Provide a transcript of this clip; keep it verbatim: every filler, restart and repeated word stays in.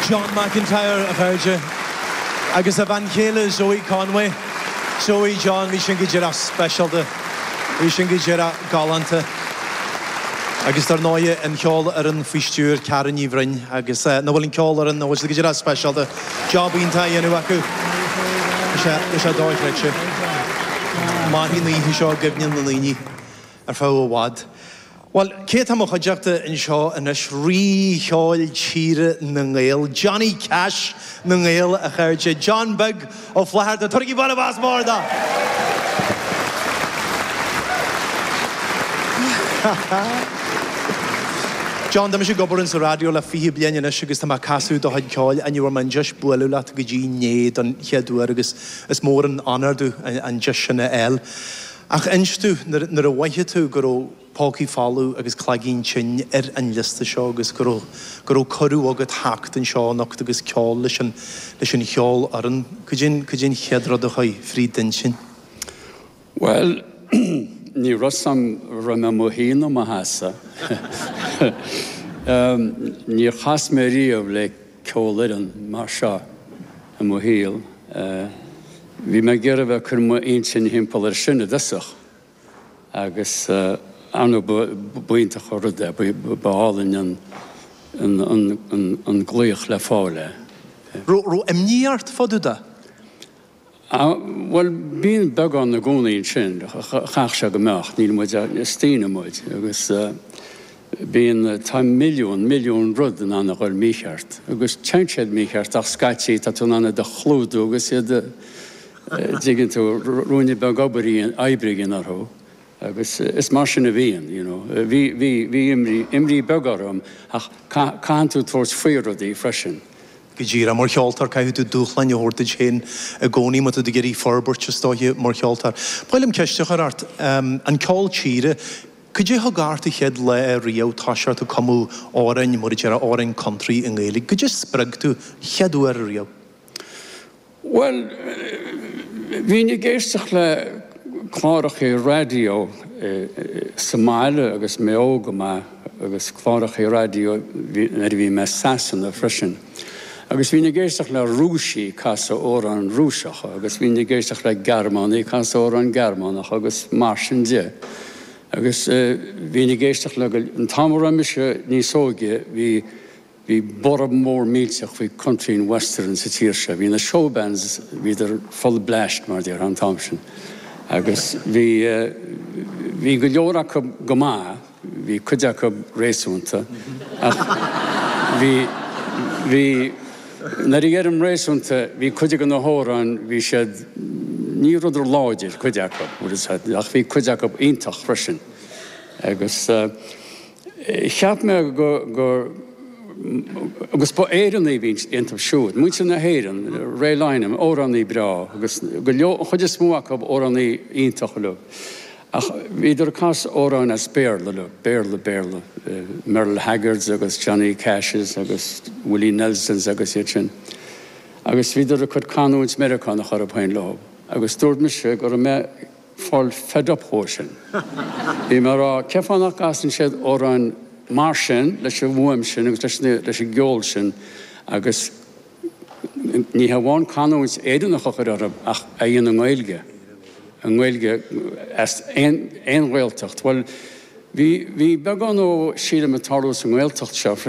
John McIntyre a chairde agus a bhean chéile Zoe Conway. Zoe John bhí sin go díreach speisialta, bhí sin go díreach galánta. Agus dar ndóigh an cheolfhoireann faoi stiúir Karen Ní Bhroin agus eh, na bhfuil an ceolfhoireann na bhfuil go díreach speisialta job iontach á dhéanamh acu sé sé dochreidte. Mairfidh an oíche seo i gcuimhne na ndaoine ar feadh i bhfad. Well, cé atá i mo chuideachta anseo anois rí cheoil tíre na nGael, Johnny Cash na nGael a chairde, John Beag Ó Flatharta, Tabhairigí bualadh bos mór dó! John, tá mise ag obair insa raidió le fiche bliain anois agus tá mé ag casadh do chuid ceoil. Ní bhfuair mé an deis bualadh leat go dtí inné don chéad uair agus is mór an onóir domh an deis sin a fháil. Ach inis domh, nuair a mhothaigh tú go raibh Pócaí Folamh agus Cloigín Tinn ar an liosta seo agus go raibh, go raibh cuireadh agat theacht anseo anocht agus ceol leis an, leis an cheolfhoireann, cad é, cad é an chéad rud a chuaigh fríd d'intinn? Bhuel, ní raibh 'fhios a'm raibh mé mo shuí nó mo sheasamh. Níor chas mé riamh le ceolfhoireann mar seo i mo shaol. Bhí mé ag iarraidh a bheith ag cur m'intinn thimpeall air sin i dtosach agus ar ndóigh b'iontach an rud é, ba álainn an glaoch le fáil é. Raibh imní ort fá dtaobh de? Bhuel, bíonn beagán i gcónaí ansin, chaithfeadh sé go mbeadh, níl muid, is daoine muid agus bíonn, tá milliún, milliún rud in ann a dhul mícheart agus téann siad mícheart ach scaití tá tú in ann iad a chlúdú agus iad a, dtuigeann tú, ruainne beag obair oibre a dhéanamh orthu agus is mar sin a bhíonn, you know. Bhí, bhí, bhí imní, imní beag orm ach caitheann tú tabhairt faoi rudaí freisin. Go díreach. Mar cheoltóir, caithfidh tú dúshláin a thabhairt duit féin i gcónaí má tá tú ag iarraidh forbairt, is dóiche, mar cheoltóir. Ba mhaith liom ceist a chur ort. An ceol tíre, cad é thug ort an chéad lá riamh toiseacht ag cumadh amhráin, mar a déarfá, amhráin country i nGaeilge? Cad é a spreag tú chéad uair riamh? Bhuel, bhínn ag éisteacht le clárachaí raidió sa mbaile agus mé óg go maith agus clárachaí raidió nuair a bhí mé i Sasana freisin. Agus bhínn ag éisteacht le Rúisigh ag casadh amhráin Rúiseacha agus bhínn ag éisteacht le Gearmánaigh ag casadh amhráin Gearmánacha agus mar sin de. Agus bhínn ag éisteacht le, an t-am a raibh mise níos óige bhí, Bhí borradh mór millteach faoi country and western sa tír seo. Bhí na showbands, bhíodar full blast mar a déarfá an t-am sin. Agus bhí, bhí go leor acu go maith, bhí cuid acu réasúnta ach bhí, bhí, nuair a dheirim réasúnta, bhí cuid de na hamhráin, bhí siad, ní rabhadar láidir, cuid acu, ach bhí cuid acu iontach freisin. Agus. Cheap mé go, go, agus ba Éireannaigh a bhí iontu siúd, muintir na hÉireann, Ray Lynam, amhránaí breá agus go leor, an chuid is mó acu amhránaí iontach uilig. Ach bhíodar ag casadh amhráin as Béarla uilig, Béarla, Béarla, Merle Haggards agus Johnny Cashes agus Willie Nelsons agus iad sin. Agus bhíodar ag cur canúint Meiriceánach orthu féin leo. Agus dúirt mise go raibh mé, fáil fed up dhó sin. Bhí mé ag rá, cén fáth nach gcasann siad amhráin mar sin, leis an bhfuaim sin agus leis na, leis an gceol sin agus ní hamháin canúint Éireannach a chur orthu ach a dhéanamh i nGaeilge, i nGaeilge as aon, aon Ghaeltacht. Bhuel, bhí, bhí beagán ó, sílim, ag tarlú sa nGaeltacht seo freisin.